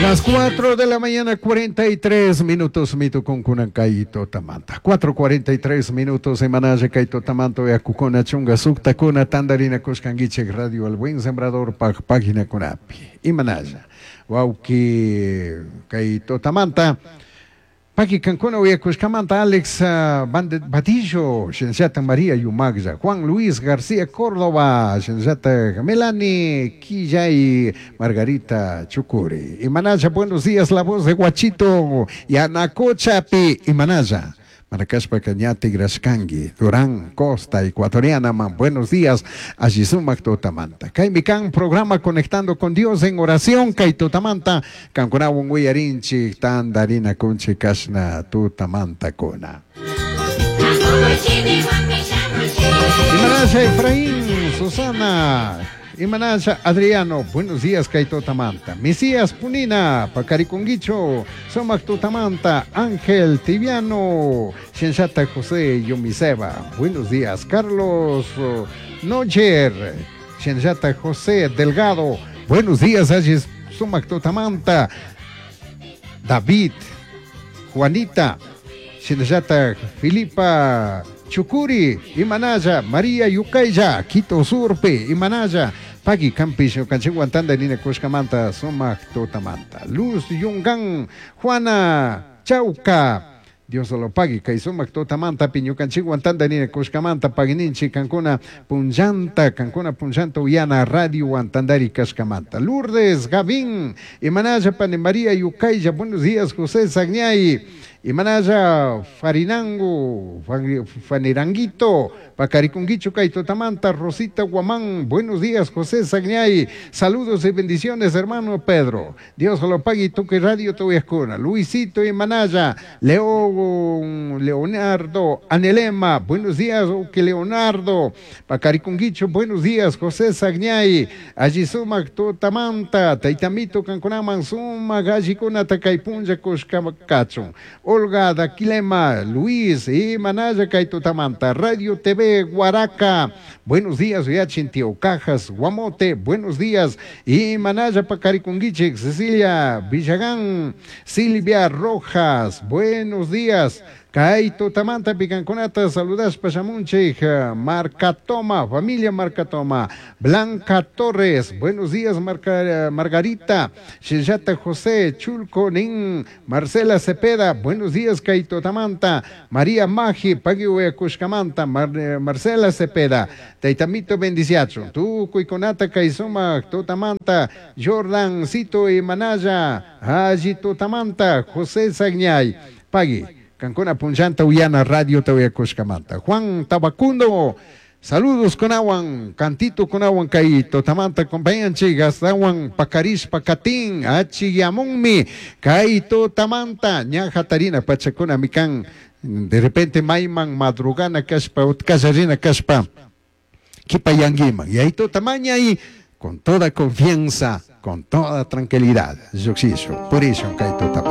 Las 4 de la mañana, 43 minutos, mito con kay totamanta. 4.43 minutos, semanalla kay totamanto, yakukuna chunga suktakuna, tandarina kushkanguichik, Radio El Buen Sembrador, página kunapi. Imanalla, wauki kay totamanta. Paki kankuna uyakushkamanta Alex Badillo, Shinshata María Yumaglla, Juan Luis García Córdoba, Shinshata Melanie Quillay, Margarita Chucuri. Imanaya, buenos días, la voz de Guachito, Yanacochapi, Imanaya. Maracaspa Cañate Grascangui, Durán Costa, Ecuatoriana, man, buenos días, Allisumac Totamanta. Kaimikan, programa Conectando con Dios en oración, Kay Totamanta, Kankunawun Wiyarinchi, Tandarina Kunchi Kashna, Tutamanta Kuna. Imanasha Efraín, Susana, Imanasha Adriano, buenos días, Kay Totamanta. Mesías Punina, Pacariconguicho, Somac Totamanta, Ángel Tibiano, Shenshata José Yomiseba, buenos días, Carlos Nocher, Shenshata José Delgado, buenos días, Ayes Sumac Totamanta, David, Juanita, Shenshata Filipa Chucuri, Imanaya, María Yucaya, Quito Surpe, Imanaya, Pagui Campish, Canchiguantanda, Nina Cushcamanta, Sumac Totamanta, Luz Yungan, Juana Chauca, Dios lo pague, kay sumak totamanta piñukanchikwan nina kushkamanta pagininchi kankuna punllanta, kankuna punllanta uyana radio wantandari kashkamanta. Lourdes, Gavín, Imanaya Pane María Yucaya, buenos días José Sagñay, Imanaya Farinango, Faniranguito, Pacaricunguicho kay Totamanta, Rosita Guamán, buenos días José Sagñay, saludos y bendiciones hermano Pedro, Dios lo pague, toque radio Toyascuna, Luisito Imanaya, Leo Leonardo Anelema, buenos días, que Leonardo, Pacaricunguicho, buenos días, José Sagñay, Allí sumak Totamanta, Taitamito Cancunaman, Suma, Gallicuna, Takaipunja, Coscamacachon, Olga Daquilema, Luis, Imanaya, Kaitotamanta, Radio TV, Guaraca, buenos días, Yachintio, Cajas, Guamote, buenos días, Imanaya, Pacaricunguiche, Cecilia Villagán, Silvia Rojas, buenos días. Kaito Tamanta Picanconata, saludas Pachamunche, Marcatoma, familia Marcatoma, Blanca Torres, buenos días Margarita, Sheyata José, Chulco Nin, Marcela Cepeda, buenos días Kaito Tamanta, María Magi, Pagiwe Cushcamanta, Marcela Cepeda, Taitamito Bendiciacho, Tu Cuiconata Kaizuma, Totamanta, Jordan Cito y Manaya, Haji Totamanta, José Sagñay, Pagui. Cancuna Punchanta Uyana Radio Tahuyacushcamanta. Juan Tabacundo, saludos con aguan, cantito con aguan caito, tamanta compañanchi, gastawan pacarish pacatín, achiyamunmi, caito tamanta, ñaja tarina pachacuna mican, de repente maiman madrugana caspa, utkasarina caspa, kipayanguiman, y ahí tamaña y con toda confianza, con toda tranquilidad, yo por eso caito tamanta.